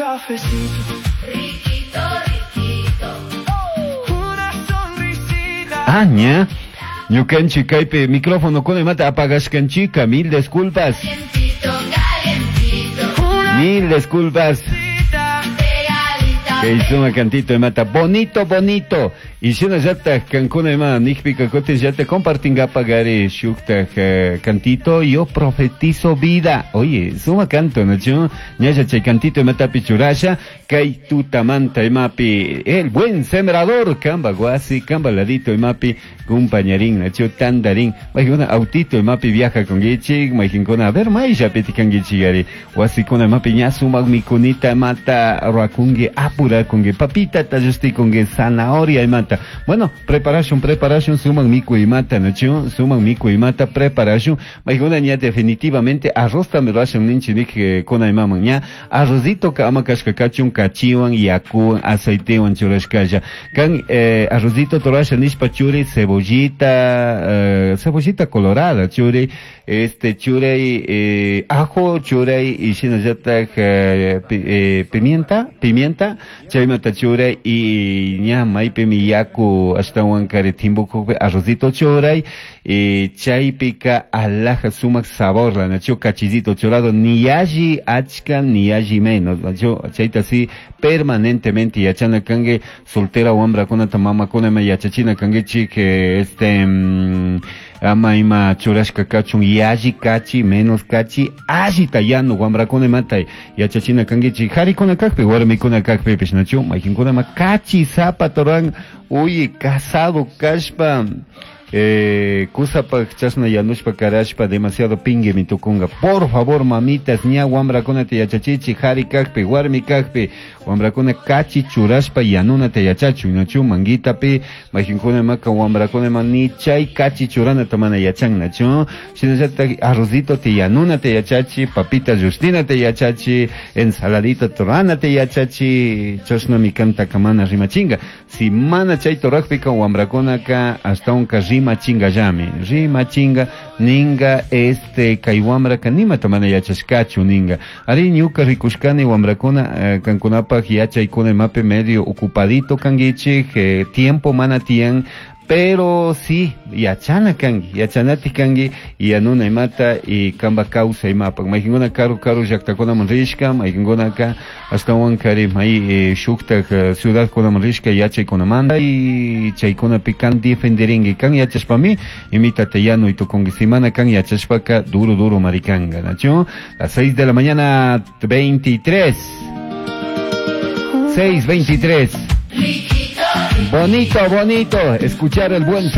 Cafecito. Riquito, riquito. Una sonrisita. Ah, ña. Ñukanchik kaypi micrófono kunamanta apagashkanchika, mil disculpas. Calientito, calientito. Una Mil disculpas. sonrisita. Pegadita. Kay suma cantito imata bonito bonito. Y shinallataj kankuna ima nikpika kutin llata compartingapagari shuktaj cantito yo profetizo vida. Oye, suma canto, ¿no? Ñalla chay cantito imatapi churasha, kay tutamanta imapi el buen sembrador, kamba guasi, kamba ladito imapi compañerín, nacho tandarín. Maijuna autito imapi viaja con gichik, maijuna a ver maisha petikangichigari. Wasikuna imapi ña sumak mikunita mata ruakungi apurakungi papita tallustikungi zanahoria imata. Bueno, preparación, preparación, suman miku imata, nacho, suman miku imata, preparación. Maijuna ña definitivamente arroz también ruashun ninchi nik kuna imaman ña arrozito ka ama kashka kachun kachiwan yakuwan aceitewan churashkalla. Kan arrozito torasha nishpa churi cebollita, cebollita colorada churi, este churay ajo churay y shinallataj pimienta, pimienta, chaymata churay y ña maypimi yaku ashtawan kari timbukukpi arrozito churay y chaypika alaja sumak sabor la nacho cachizito churado ni alli achka ni alli menos nacho chayta si permanentemente yachana kangue soltera wambrakunata mamakuna ma yachachina kanguichik este ama ima churashka kachun yalli kachi menos kachi allita yanu wambrakuna imata yachachina kanguichik harikuna kakpi warmikuna kakpipish nachu maykinkuna ma kachi sapa ruran uy casado kashpa kusapaj chashna yanushpa karashpa demasiado pinguimi tukunga. Por favor, mamitas, ña wambrakunata yachachichi, hari kakpi, warmi kakpi, wambrakuna kachi churashpa yanunata yachachun, nachu manguitapi, maykinkuna maka wambrakuna ma ni chay kachi churanata mana yachan, nachu, shinallataj arrozito te yanunata yachachi, papita justinata yachachi, ensaladita turanata yachachi, chashnami kantaka mana rimachinga. Si mana chay turakpika wambrakunaka ashtawanka rimachingallami, rimachinga ninga este kay wambraka nimata mana yachashkachu ninga. Ari ñuka rikushkani wambrakuna kankunapaj yachaykuna imapi medio ocupadito kanguichik, tiempo mana tiyan, pero sí, yachana kangi, yachanati kangi, y yanuna imata, y kamba causa imapak. Maykinkuna karu karu llaktakunaman rishka, maykinkunaka ashtawan kari may shuktak ciudadkunaman rishka yachaykunamanta, y chaykunapi kan defenderingui, kan yachashpami, imitata yanuy tukunki. Si mana kan yachashpaka, duro duro marikanga, nachu? Las 6 de la mañana, 23. 6:23. Riquito, Bonito, bonito, escuchar el buen